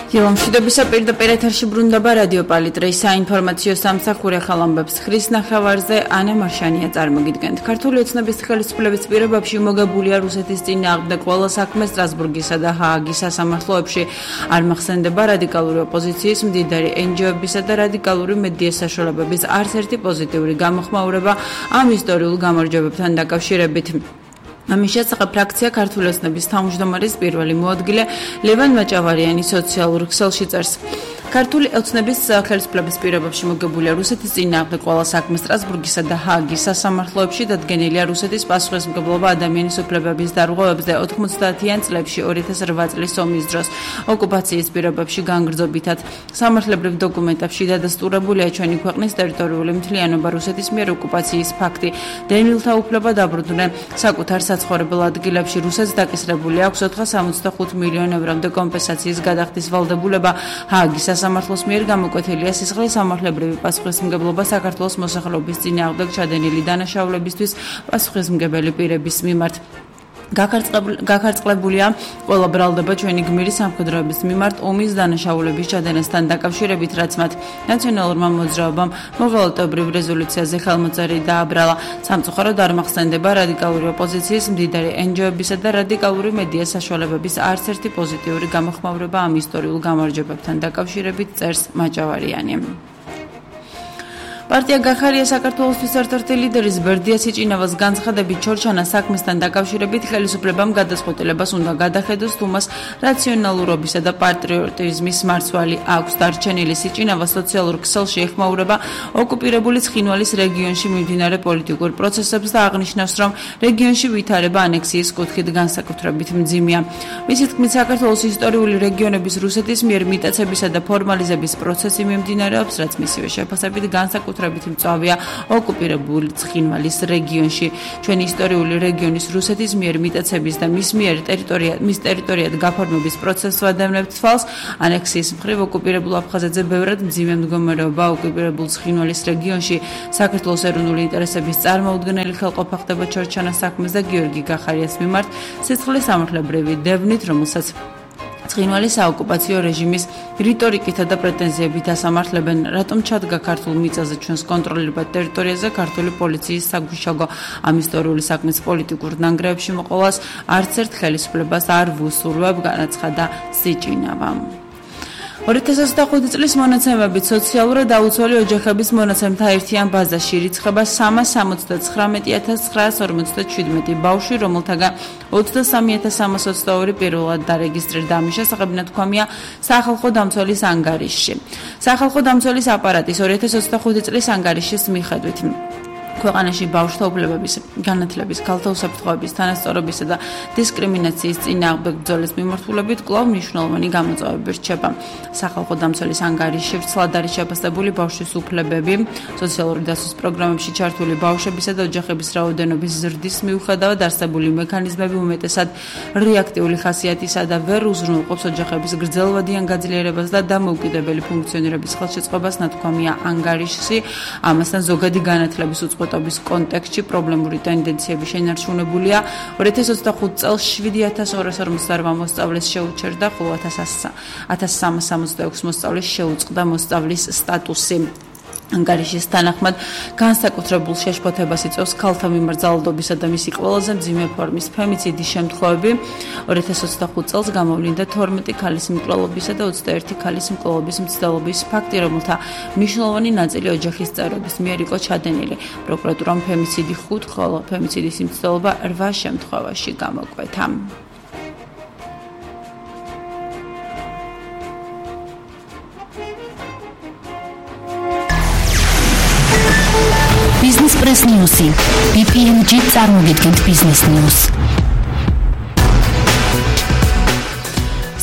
მშვიდობისა პირდაპირ ეთერში ბრუნდება რადიო პალიტრის საინფორმაციო სამსახური ხალამბებს ხრის ნახევარზე ანა მარშანია წარმოგიდგენთ. ქართული ოცნების ხელისუფლების პირობებში მოგებულია რუსეთის წინააღმდეგ ყველა საქმე სტრასბურგისა და ჰააგის სასამართლოებში. არ მახსენდება რადიკალური ოპოზიციის, მდიდარი NGO-ებისა და რადიკალური მედიის საშუალებების არც ერთი პოზიტიური გამოხმაურება ამ ისტორიულ გამარჯვებებთან დაკავშირებით. ამის შესახებ ფრაქცია ქართული ოცნების თავმჯდომარის პირველი მოადგილე ლევან მაჭავარიანი სოციალურ ქსელში წერს. ქართული ოცნების ხელისუფლების პირობებში მოგებულია რუსეთის წინააღმდეგ ყველა საქმე სტრასბურგისა და ჰააგის სასამართლოებში დადგენილია რუსეთის პასუხისმგებლობა ადამიანის უფლებების დარღვევებზე 90-იან წლებში 2008 წლის ომის დროს ოკუპაციის პირობებში განგრძობითად სამართლებრივ დოკუმენტებში დადასტურებულია ჩვენი ქვეყნის ტერიტორიული მთლიანობა რუსეთის მიერ ოკუპაციის ფაქტი დევნილთა უფლება დაბრუნდნენ საკუთარ საცხოვრებელ ადგილებში რუსეთს დაკისრებული აქვს 465 მილიონ ევრომდე კომპენსაციის გადახდის ვალდებულება ჰააგის სასამართლოს მიერ გამოკვეთილია სისხლის სამართლებრივი პასუხისმგებლობა საქართველოს მოსახლეობის წინააღმდეგ ჩადენილი დანაშაულებისთვის პასუხისმგებელი პირების მიმართ. გაქარწყლებულია ყველა ბრალდება ჩვენი გმირი სამხედროების მიმართ ომის დანაშაულების ჩადენასთან დაკავშირებით, რაც მათ ნაციონალურმა მოძრაობამ მოღალატეობრივ რეზოლუციაზე ხელმოწერი დააბრალა. სამწუხაროდ არ მახსენდება რადიკალური ოპოზიციის, მდიდარი NGO-ებისა და რადიკალური მედიის საშუალებების არც ერთი პოზიტიური გამოხმაურება ამ ისტორიულ გამარჯვებებთან დაკავშირებით, წერს მაჭავარიანი. პარტია გახარია საქართველოსთვის ერთ-ერთი ლიდერის ბერდია სიჭინავას განცხადებით ჩორჩანას საქმესთან დაკავშირებით ხელისუფლებამ გადაწყვეტილებას უნდა გადახედოს თუ მას რაციონალურობისა და პატრიოტიზმის მარცვალი აქვს. დარჩენილი სიჭინავა სოციალურ ქსელში ეხმაურება ოკუპირებული ცხინვალის რეგიონში მიმდინარე პოლიტიკურ პროცესებს და აღნიშნავს, რომ რეგიონში ვითარება ანექსიის კუთხით განსაკუთრებით მძიმეა. მისი თქმით, საქართველოს ისტორიული რეგიონების რუსეთის მიერ მიტაცებისა და ფორმალიზების პროცესი მიმდინარეობს, რაც მისივე შეფასებით განსაკუთრებით მწვავეა ოკუპირებული ცხინვალის რეგიონში. ჩვენი ისტორიული რეგიონის რუსეთის მიერ მიტაცების და მის ტერიტორიად გაფორმების პროცესს ვადევნებთ თვალს. ანექსიის მხრივ ოკუპირებულ აფხაზეთზე ბევრად მძიმე მდგომარეობა ოკუპირებულ ცხინვალის რეგიონში. საქართველოს ეროვნული ინტერესების წარმოუდგენელი ხელყოფა ხდება ჩორჩანას საქმეს და გიორგი გახარიას მიმართ სისხლის სამართლებრივი დევნით, რომელსაც ცხინვალის საოკუპაციო რეჟიმის რიტორიკითა და პრეტენზიებით ასამართლებენ. რატომ ჩადგა ქართულ მიწაზე ჩვენს კონტროლირებად ტერიტორიაზე ქართული პოლიციის საგუშაგო ამ ისტორიული საქმის პოლიტიკურ ნანგრევებში მოყოლას არც ერთ ხელისუფლებას არ ვუსურვებ, განაცხადა სიჭინავა. 2025 წლის მონაცემებით სოციალურად დაუცველი ოჯახების მონაცემთა ერთიან ბაზაში ირიცხება 330,957 ბავშვი, რომელთაგან 23,322 პირველად დარეგისტრირდა. ამის შესახებ ნათქვამია სახალხო დამცველის ანგარიშში. სახალხო დამცველის აპარატის 2025 წლის ანგარიშის მიხედვით ქვეყანაში ბავშვთა უფლებების, განათლების, ქალთა უსაფრთხოების, თანასწორობისა და დისკრიმინაციის წინააღმდეგ ბრძოლის მიმართულებით კვლავ მნიშვნელოვანი გამოწვევები რჩება. სახალხო დამცველის ანგარიშში ვრცლად არის შეფასებული ბავშვის უფლებები, სოციალური დაცვის პროგრამებში ჩართული ბავშვებისა და ოჯახების რაოდენობის ზრდის მიუხედავად არსებული მექანიზმები უმეტესად რეაქტიული ხასიათისა და ვერ უზრუნველყოფს ოჯახების გრძელვადიან გაძლიერებას და დამოუკიდებელი ფუნქციონირების ხელშეწყობას, ნათქვამია ანგარიშში. ამასთან ზოგადი განათლების უწყვეტობის კონტექსტში პრობლემური ტენდენციები შენარჩუნებულია. 2025 წელს 7,248 მოსწავლეს შეუჩერდა, ხოლო 1,366 მოსწავლეს შეუწყდა მოსწავლის სტატუსი. ანგარიშის თანახმად განსაკუთრებულ შეშფოთებას იწვევს ქალთა მიმართ ძალადობისა და მისი ყველაზე მძიმე ფორმის ფემიციდის შემთხვევები. 2025 წელს გამოვლინდა 12 ქალის მკვლელობისა და 21 ქალის მკვლელობის მცდელობის ფაქტი, რომელთა მნიშვნელოვანი ნაწილი ოჯახის წევრების მიერ იყო ჩადენილი. პროკურატურამ ფემიციდი 5, ხოლო ფემიციდის მცდელობა 8 შემთხვევაში გამოკვეთა. Business Press News. BPMG წარმოგიდგენთ Business News.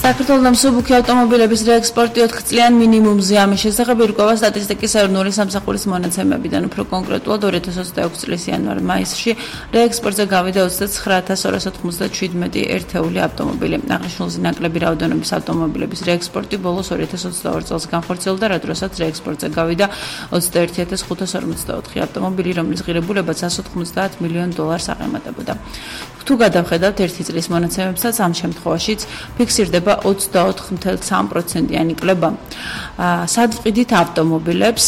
საქართველოს მსუბუქი ავტომობილების რეექსპორტი 4 წლიან მინიმუმზე. ამის შესახებ ირკვევა სტატისტიკის ეროვნული სამსახურის მონაცემებიდან. უფრო კონკრეტულად 2026 წლის იანვარ-მაისში რეექსპორტზე გავიდა 29,297 ერთეული ავტომობილი. აღნიშნულზე ნაკლები რაოდენობის ავტომობილების რეექსპორტი ბოლოს 2022 წელს განხორციელდა, რა დროსაც რეექსპორტზე გავიდა 21,554 ავტომობილი, რომლის ღირებულებაც 190 მილიონ დოლარს აღემატებოდა. თუ გადავხედავთ ერთი წლის მონაცემებსაც, ამ შემთხვევაშიც ფიქსირდება ემთხვევა 24.3%-იანი კლება სადვყიდით ავტომობილებს.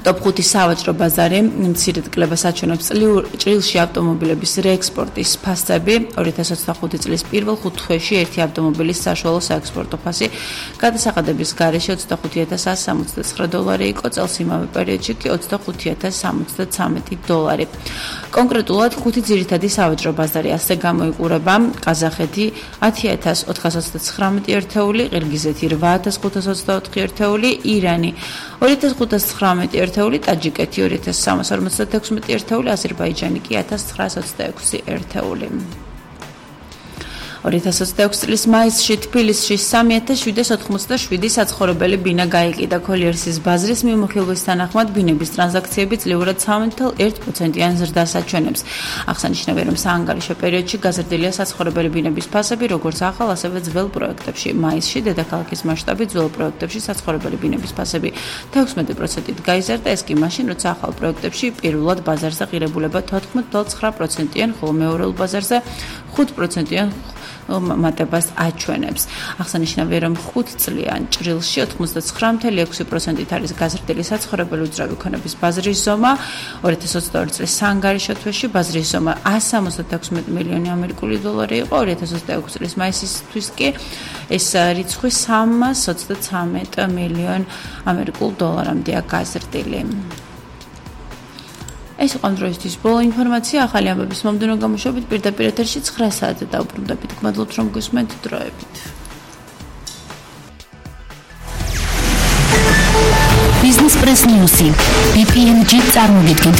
Top 5 სავაჭრო ბაზარი მცირედ კლებას აჩვენებს ჭრილში ავტომობილების რეექსპორტის ფასები 2025 წლის პირველ 5 თვეში ერთი ავტომობილის საშუალო საექსპორტო ფასი გადასახადების გარეშე $25,169 იყო, წელს იმავე პერიოდში კი $25,073. კონკრეტულად 5 ძირითადი სავაჭრო ბაზარი ასე გამოიყურება: ყაზახეთი 10,429 ერთეული, ყირგიზეთი 8,524 ერთეული, ირანი 2,519 ერთეული, ტაჯიკეთი 2,356 ერთეული, აზერბაიჯანი კი 1,926 ერთეული. 2026 წლის მაისში თბილისში 3,787 საცხოვრებელი ბინა გაიყიდა. კოლიერსის ბაზრის მიმოხილვის თანახმად ბინების ტრანზაქციები ძლიერად 3.1%-იან ზრდას აჩვენებს. აღსანიშნავია, რომ საანგარიშო პერიოდში გაზრდილია საცხოვრებელი ბინების ფასები როგორც ახალ, ასევე ძველ პროექტებში. მაისში დედაქალაქის მასშტაბით ძველ პროექტებში საცხოვრებელი ბინების ფასები 16%-ით გაიზარდა, ეს კი მაშინ, როცა ახალ პროექტებში პირველად ბაზარზე ღირებულება 14.9%-იან, ხოლო მეორეულ ბაზარზე 5%-იან მატებას აჩვენებს. აღსანიშნავია, რომ 5 წლიან ჭრილში 99.6%-ით არის გაზრდილი საცხოვრებელი უძრავი ქონების ბაზრის ზომა. 2022 წლის საანგარიშო თვეში ბაზრის ზომა $176 მილიონი იყო, 2026 წლის მაისისთვის კი ეს რიცხვი $323 მილიონამდეა გაზრდილი. ეს იყო დროისთვის ბოლო ინფორმაცია. ახალი ამბების მომდევნო გამოშვებით პირდაპირ ეთერში 9 საათზე დავუბრუნდებით. გმადლობთ, რომ გისმენთ დროებით. Business Press News. BPMG წარმოგიდგენთ